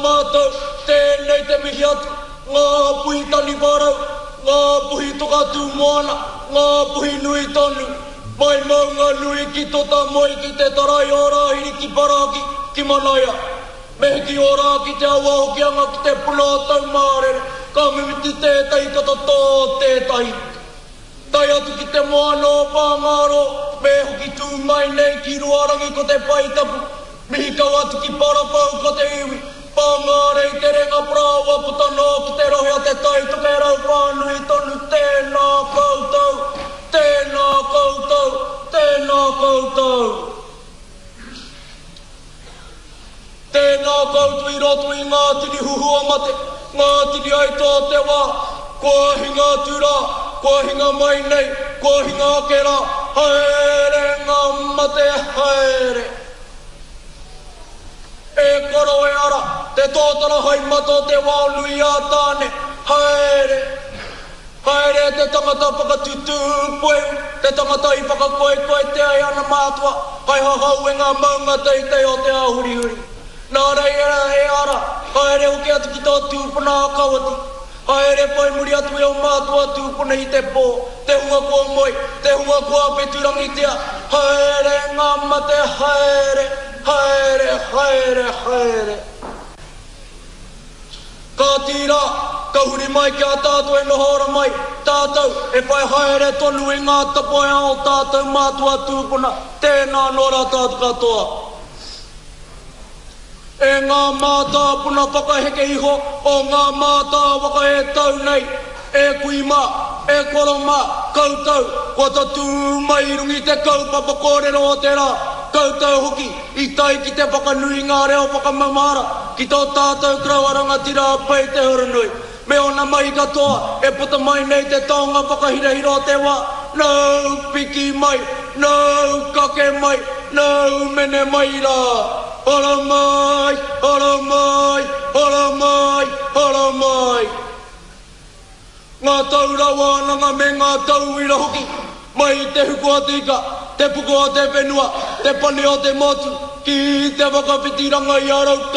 Mātou, tēnei te mihi atu, ngā puhi taniwharau, ngā puhi toka tū moana, ngā puhi nui tonu, mai Maunganui ki Totamoe ki Te Tarai o Rāhiri ki Paraki, ki Manaia. Me hiki o rā ki te awa Hokianga ki te puna o Taumārere, ka mimiti tētahi ka totō tētahi. Tae atu ki te moana o Whāngārō, me hoki tū mai nei ki Ruarangi ko te pae tapu, Mihi kau atu ki Parawhau ko te iwi, Whāngārei te renga parāoa puta noa ki te rohe o Te Tai Tokerau whānui tonu tēnā koutou, tēnā koutou, tēnā koutou. Tēnā koutou i roto i ngā tini huhua mate, ngā tini aituā o te wā, kua hinga atu rā, kua hinga mai nei, kua hinga ake rā, haere ngā mate haere. E koro e ara, te tōtara hai mata o te wao nui a Tāne, haere. Haere te tangata whakatutū puehu, te tangata i whakakoekoetea e ana mātua, hai hahau e ngā maunga teitei o te ao hurihuri. Nā reira e ara, haere hoki atu ki tō tūpuna a Kawiti. Haere whai muri atu e ō mātua tūpuna i te pō, te hunga kua moe, te hunga kua wheturangitia. Haere ngā mate, haere, haere, haere, haere. Kāti rā, ka huri mai ki a tātou e noho ora mai, tātou e whai haere tonu i ngā tapuae a ō tātou mātua tūpuna, tēnā anō rā tātou katoa. E ngā mātāpuna whakaheke iho o ngā mātāwaka e tau nei, e kui mā, e koro mā, koutou, kua tatū mai i runga i te kaupapa kōrero o te rā, koutou hoki, I tae ki te whakanui i ngā reo whakamamara ki tō tātou koroua rangatira a Pei Te Hurinui me ōna mahi katoa e puta mai nei te taonga whakahirahira o te wā, nōu piki mai, nōu kake mai, nōu mene mai rā. Haramai, haramai, haramai, haramai. Ngā taura wānanga me ngā tauira hoki, mai i te huku o te ika, te puku o te whenua, te pane o te motu, ki te whakawhitiranga i a Raukawa.